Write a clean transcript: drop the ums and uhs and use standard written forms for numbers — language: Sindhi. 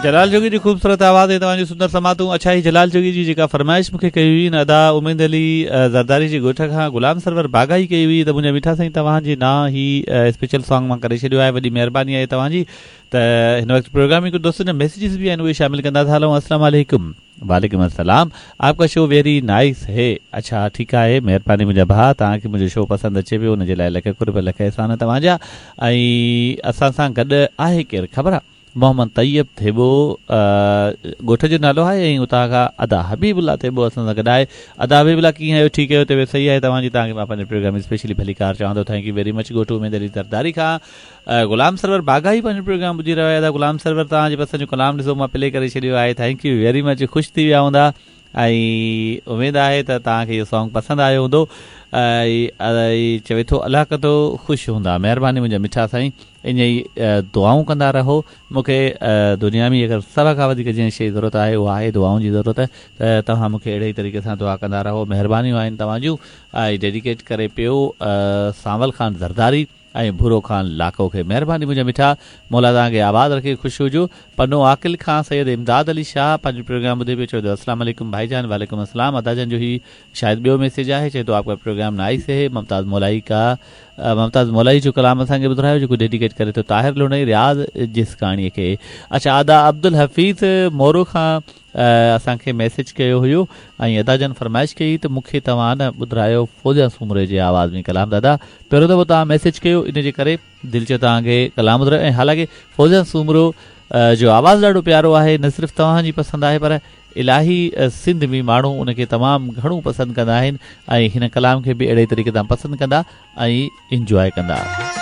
جلال جوڳي جي خوبصورت آواز ۽ توهان جون سندر سماعتون اڇا هي جلال جوڳي جي جيڪا فرمائش مونکي ڪئي هئي نه ادا اميد علي زرداري جي ڳوٺ کان غلام سرور باغائي ڪئي هئي ته منهنجا مٺا سائين توهان جي نانء هي اسپيشل سانگ مان ڪري ڇڏيو آهي وڏي مهرباني آهي توهان جي ته هن وقت پروگرام ۾ ڪجهه دوستن جا ميسيجز به آهن اهي شامل ڪندا ٿا هلون السلام عليڪم وعليڪم السلام آپ ڪا شو ويري نائيس هي اڇا ٺيڪ آهي مهرباني منهنجا ڀاء توهان کي منهنجو شو پسند اچي پيو ان جي لاء لک قرب لک احسان توهان جا ۽ اسان سان گڏ آهي ڪير خبر آ محمد طيب ٿيٻو ڳوٺ جو نالو آهي ۽ اتان کان ادا حبيب الله ٿيٻو اسان سان گڏ آهي ادا حبيب الله ڪيئن آهيو ٺيڪ آهيو طبيعت صحيح آهي توهان جي توهان کي مان پنهنجي پروگرام ۾ اسپيشلي ڀليڪار چوان ٿو thank you very much ڳوٺ اميد علي زرداري کان غلام سرور باغائي پنهنجو پروگرام ٻڌي رهيو آهي ادا غلام سرور توهان جي پسند جو ڪلام ڏسو مان پلي ڪري ڇڏيو آهي thank you very much خوش ٿي ويا هوندا ۽ اميد آهي ته توهان کي اهو سانگ پسند آيو هوندو ۽ چوي ٿو الله ڪندو خوش هوندا مهرباني منهنجا مٺا سائين ائين ئي دعائون ڪندا رهو مون کي دنيا ۾ اگر سڀ کان وڌيڪ جنهن شيء جي ضرورت آهي اها آهي دعائن جي ضرورت ته توهان مون کي اهڙي ئي طريقي سان دعا ڪندا رهو مهربانيون آهن توهان جون ۽ ڊيڊيڪيٽ ڪري پيو سانول خان زرداري ۽ ڀورو خان لاکو کي مهرباني منهنجا مٺا مولا توهان کي آباد رکي خوش هجو پنو عاقل کان سيد امداد علي شاهه پنهنجو پروگرام ٻڌي پيو چوي ٿو السلام عليڪم ڀائي جان وعليڪم السلام ادا جان جو هي شايد ٻيو ميسيج آهي چئي ٿو آپ ڪا پروگرام نائيس هي ممتاز مولائي ڪا ممتاز مولائي جو ڪلام اسان کي ٻڌرايو جيڪو ڊيڊيڪيٽ ڪري ٿو طاهر لوڻئي رياض جسڪاڻي کي اڇا ادا عبدالحفيظ مورو کان اسان کي ميسيج ڪيو هيو ۽ ادا جن فرمائش ڪئي ته مون کي توهان نه ٻڌرايو فوزيا سومري جي آواز ۾ ڪلام دادا پهريون دفعو توهان ميسيج ڪيو ان جي ڪري دل چيو توهان کي ڪلام ٻڌرايو ۽ حالانڪه فوزيا سومرو جو آواز ڏاڍو پيارو آهي نه صرف توهان جي پسند آهي پر الاهي سنڌ ۾ ماڻهو ان کي تمام گهڻو پسند ڪندا آهن ۽ هن ڪلام کي به اهڙي طريقي سان پسند ڪندا ۽ انجواء ڪندا.